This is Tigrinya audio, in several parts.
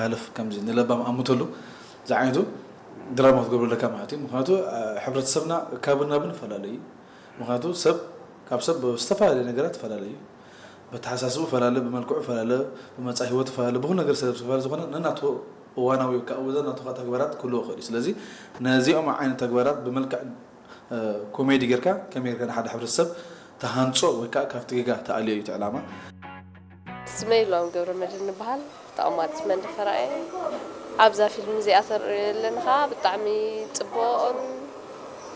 ሓለፍ ከምዚ ንለባም ኣምተሉ ዝዓይነቱ ድራማ ክትገብሩ ኣለካ ማለት እዩ። ምክንያቱ ሕብረተሰብና ካብን ናብን ይፈላለዩ እዩ። ምክንያቱ ሰብ ካብ ሰብ ዝተፈላለየ ነገራት ይፈላለዩ እዩ። በተሓሳስቡ ፈላለ፣ ብመልክዑ ፈላለ፣ ብመፃ ህይወት ፈላለ፣ ብኩሉ ነገር ሰብ ፈላለ ዝኾነ ነናቱ እዋናዊ ወይ ከዓ ነናቱ ከዓ ተግባራት ክህልዎ ይኽእል እዩ። ስለዚ ነዚኦም ዓይነት ተግባራት ብመልክዕ ኮሜዲ ጌርካ ከመይ ጌርካ ንሓደ ሕብረተሰብ ተሃንፆ ወይ ከዓ ካብቲ ጌጋ ተኣልዮ እዩ እቲ ዕላማ። ስመይ ሎም ገብረ መድህን ይበሃል። ተቐማጢት መንደፈራ እየ። ኣብዛ ፊልም እዚኣ ተርእዮ ኣለኒ ከዓ ብጣዕሚ ፅቡቕን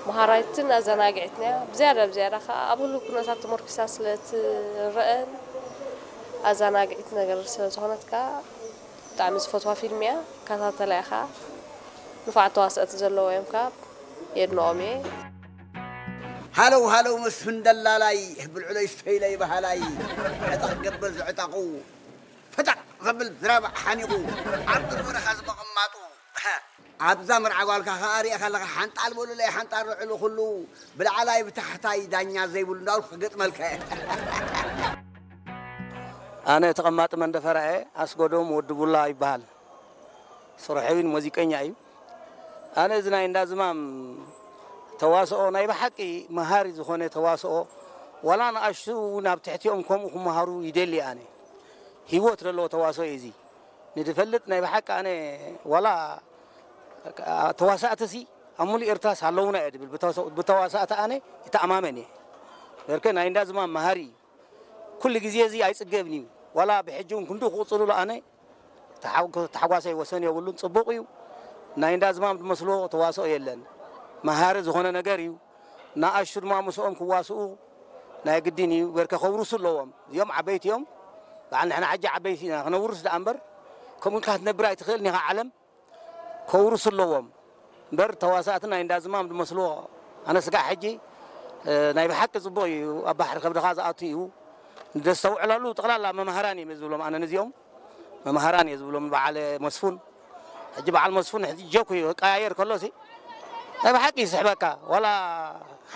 መሃራይትን ኣዘናግዒትን እያ። ብዝያዳ ብዝያዳ ከዓ ኣብ ህሉው ኩነታት ተመርኪሳ ስለ ትረአን ኣዘናግዒት ነገር ስለ ዝኾነት ከዓ ብጣዕሚ ዝፈትዋ ፊልም እያ። ከታተላ እየ ከዓ። ንፉዓት ተዋሰእቲ ዘለዎ እዮም ከዓ። የድንቖም እየ። ሃለው ሃለው መስፍን ደላላይ ብልዕለይ ስተይለይ በሃላይ ዕጠቕ ገብር ዝዕጠቑ ፈጠቕ ዘብል ዝረባዕ ሓኒቑ ኣብ ቅርቢ ረኻ ዝመቐማጡ ኣብዛ መርዓ ጓልካ ከኣ ሪእኻ ኣለኻ ሓንጣል በሉለይ ሓንጣል ርዕሉ ኩሉ ብላዕላይ ብታሕታይ ዳኛ ዘይብሉ እንዳበልኩ ክገጥመልካ እየ። ኣነ ተቐማጢ መንደፈራ እየ። ኣስጎዶም ወዲ ቡላ ይበሃል። ስርሐይን ሙዚቀኛ እዩ። ኣነ እዚ ናይ እንዳ ዝማም ተዋስኦ ናይ ብሓቂ መሃሪ ዝኾነ ተዋስኦ ዋላ ንኣሽቱ እውን ኣብ ትሕቲኦም ከምኡ ክመሃሩ ይደሊ ኣነ። ህይወት ዘለዎ ተዋስኦ እዩ እዚ። ንድፈልጥ ናይ ብሓቂ ኣነ ዋላ ተዋሳእትሲ ኣብ ሙሉእ ኤርትራስ ኣለዉና እየ ድብል። ብተዋሳእቲ ኣነ ይተኣማመን እየ። በርከ ናይ እንዳ ዝማም መሃሪ እዩ። ኩሉ ግዜ እዚ ኣይጽገብን እዩ። ዋላ ብሕጂ እውን ክንድኡ ክቕጽልሉ ኣነ ተሓጓሰይ ወሰን የብሉን። ጽቡቕ እዩ። ናይ እንዳ ዝማም ዝመስሎ ተዋስኦ የለን። መሃሪ ዝኾነ ነገር እዩ። ንኣሽቱ ድማ ምስኦም ክዋስኡ ናይ ግድን እዩ። በርከ ከውርሱ ኣለዎም። እዚኦም ዓበይቲ እዮም። በዓል ንሕና ሕጂ ዓበይቲ ኢና። ክነውርስ ደኣ እምበር ከምኡ ኢልካ ክትነብር ኣይትኽእልን ኢኻ ዓለም። ከውርሱ ኣለዎም እምበር ተዋሳእቲ ናይ እንዳ ዝማም ዝመስልዎ ኣነ ስጋዕ ሕጂ ናይ ብሓቂ ፅቡቕ እዩ ኣብ ባሕሪ ከብድኻ ዝኣቱ እዩ ንደስተውዕለሉ ጠቕላላ መምሃራን እዮም ዝብሎም ኣነ ነዚኦም መምሃራን እየ ዝብሎም በዓል መስፉን ሕጂ በዓል መስፉን ሕጂ ጀኩ እዩ ቀያየር ከሎ ሲ ናይ ብሓቂ ይስሕበካ ዋላ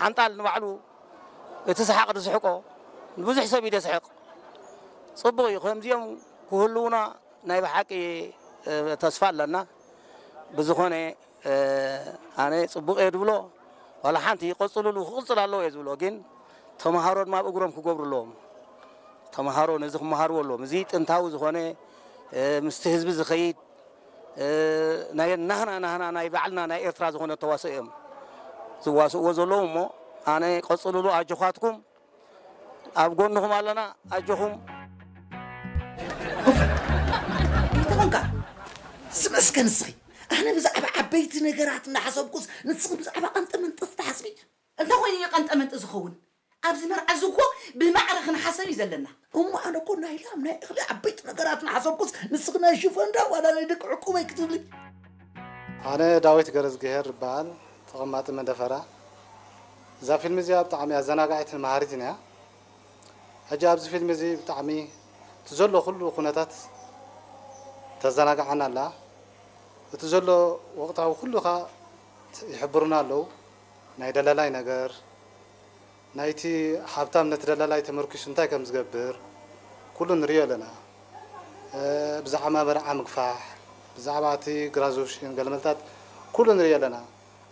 ሓንጣል ንባዕሉ እቲ ሰሓቕ ዝስሕቆ ንብዙሕ ሰብ እዩ ደስሕቕ ፅቡቕ እዩ ከምዚኦም ክህልውና ናይ ብሓቂ ተስፋ ኣለና። ብዝኾነ ኣነ ፅቡቕ እየ ዝብሎ ዋላ ሓንቲ ይቐፅልሉ ክቕፅል ኣለዎ እየ ዝብሎ ግን ተምሃሮ ድማ ኣብ እግሮም ክገብሩ ኣለዎም። ተምሃሮ ነዚ ክመሃርዎ ኣለዎም። እዚ ጥንታዊ ዝኾነ ምስቲ ህዝቢ ዝኸይድ ናይ ናህና ናህና ናይ ባዕልና ናይ ኤርትራ ዝኾነ ተዋስኦ እዮም ዝዋስእዎ ዘለዉ እሞ ኣነ ቀፅልሉ ኣጆኻትኩም ኣብ ጎንኹም ኣለና ኣጆኹም። እንተኾንካ ዝመስከ ንስኺ ኣነ ብዛዕባ ዓበይቲ ነገራት እናሓሰብኩስ ንስኺ ብዛዕባ ቀንጠመንጠስ ትሓስቢ እንተ ኮይኑ እዩ ቀንጠመንጢ ዝኸውን ኣብዚ መርዓ እዚ እኮ ብማዕረ ክንሓሰብ እዩ ዘለና እሞ ኣነ እኮ ናይ ላም ናይ እኽሊ ዓበይቲ ነገራት እናሓሰብኩስ ንስኺ ናይ ሽፎንዳ ዋላ ናይ ደቂ ዕቁበይ ክትብሊ ኣነ ዳዊት ገረዝግሄር እበሃል ተቐማጢ መንደፈራ እዛ ፊልም እዚኣ ብጣዕሚ ኣዘናጋዒትን መሃሪትን እያ ሕጂ ኣብዚ ፊልም እዚ ብጣዕሚ እቲ ዘሎ ኩሉ ኩነታት ተዘናግዓና ኣላ እቲ ዘሎ ወቕታዊ ኩሉ ኸዓ ይሕብሩና ኣለዉ ናይ ደላላይ ነገር ናይቲ ሃብታም ነቲ ደላላይ ተመርኪሱ እንታይ ከም ዝገብር ኩሉ ንሪኦ ኣለና ብዛዕባ መርዓ ምግፋሕ ብዛዕባ እቲ ግራዙሽን ገለመልታት ኩሉ ንሪኦ ኣለና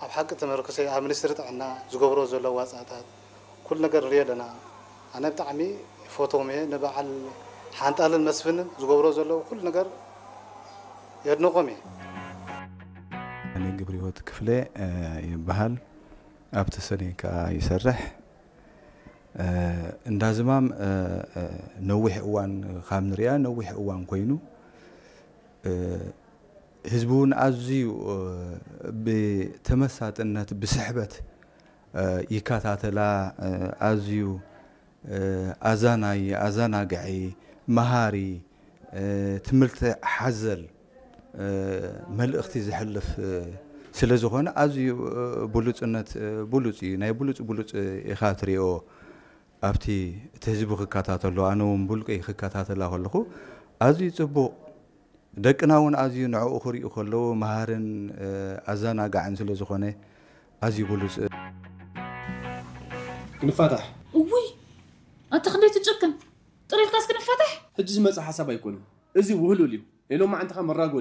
ኣብ ሓቂ ተመርኩሰ ኣብ ሚኒስትሪ ጥዕና ዝገብሮ ዘለዉ ዋፃእታት ኩሉ ነገር ንሪኦ ኣለና ኣነ ብጣዕሚ ይፈትዎም እየ ንበዓል ሓንጣልን መስፍንን ዝገብሮ ዘለዉ ኩሉ ነገር የድንቆም እየ እኔ ግብር ህይወት ክፍለ ይበሃል ኣብ ተሰኔ ከዓ ይሰርሕ እንዳ ዝማም ነዊሕ እዋን ካብ ንሪኣ ነዊሕ እዋን ኮይኑ ህዝቢ እውን ኣዝዩ ብተመሳጥነት ብስሕበት ይከታተላ ኣዝዩ ኣዛናይ ኣዘናግዒ መሃሪ ትምህርቲ ሓዘል መልእኽቲ ዘሕልፍ ስለ ዝኾነ ኣዝዩ ብሉፅነት ብሉፅ እዩ ናይ ብሉፅ ብሉፅ ኢኻ ትሪኦ ኣብቲ እቲ ህዝቢ ክከታተሎ ኣነ እውን ብውልቀይ ክከታተላ ከለኹ ኣዝዩ ፅቡቕ ደቅና እውን ኣዝዩ ንዕኡ ክሪኡ ከለዉ መሃርን ኣዘናጋዕን ስለ ዝኾነ ኣዝዩ ብሉፅ ክንፋታሕ እውይ ኣታ ክንደይ ትጭክን ጥሪልካስ ክንፋታሕ ሕጂ ዝመፅእ ሓሳብ ኣይኮነን እዚ ውህሉል እዩ ናይ ሎማዓንቲ ከ መራጎዲ